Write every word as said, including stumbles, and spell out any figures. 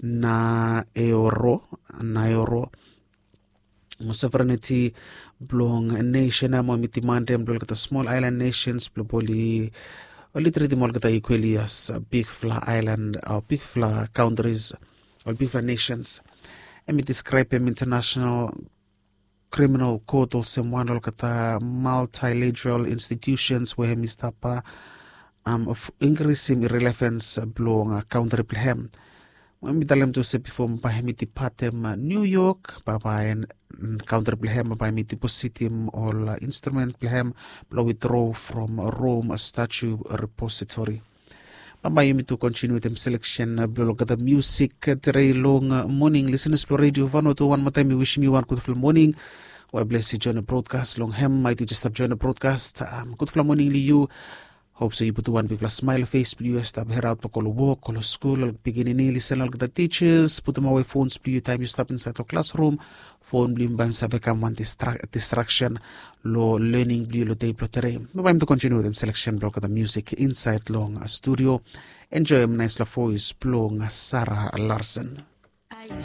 Naeoro, Naeoro, mo sovereignty blong nation ya, mo hemi dimandem blong olgeta small island nations blong oli oli tritim olgeta equally as bigfala island o bigfala countries o bigfala nations. Hemi describem international criminal court olsem wan olgeta multilateral institutions we hemi stap increasem relevance blong country blong hem. Mo hemi talem tu se bifo bae hemi dipatem New York, bae bae country blong hem bae hemi depositim ol instrument blong hem blong withdraw from Rome Statue Repository. Bambae yumi tu kontiniu wetem seleksen blong olgeta musik tere long moning. Lisenas blong redio Vanuatu, wan moa taem mi wisim yu wan gudfala moning. Wai bles yu join brodkas long hem, maet yu jes stap join brodkas. Gudfala moning long yu. Hop se yu putum wan bigfala smael fes blong yu ya stap heraot blong go long wok, go long skul, ol pikinini, lisen long olgeta tisas. Putum awe fons blong yu taem yu stap insaed long klasrum. Fon blong yu bae hem save kam wan distraksen long lening blong yu long dei blong tere. Bae hem tu kontiniu wetem seleksen blong olgeta musik insaed long studio. Enjoem naesfala voes blong Sara Larsen.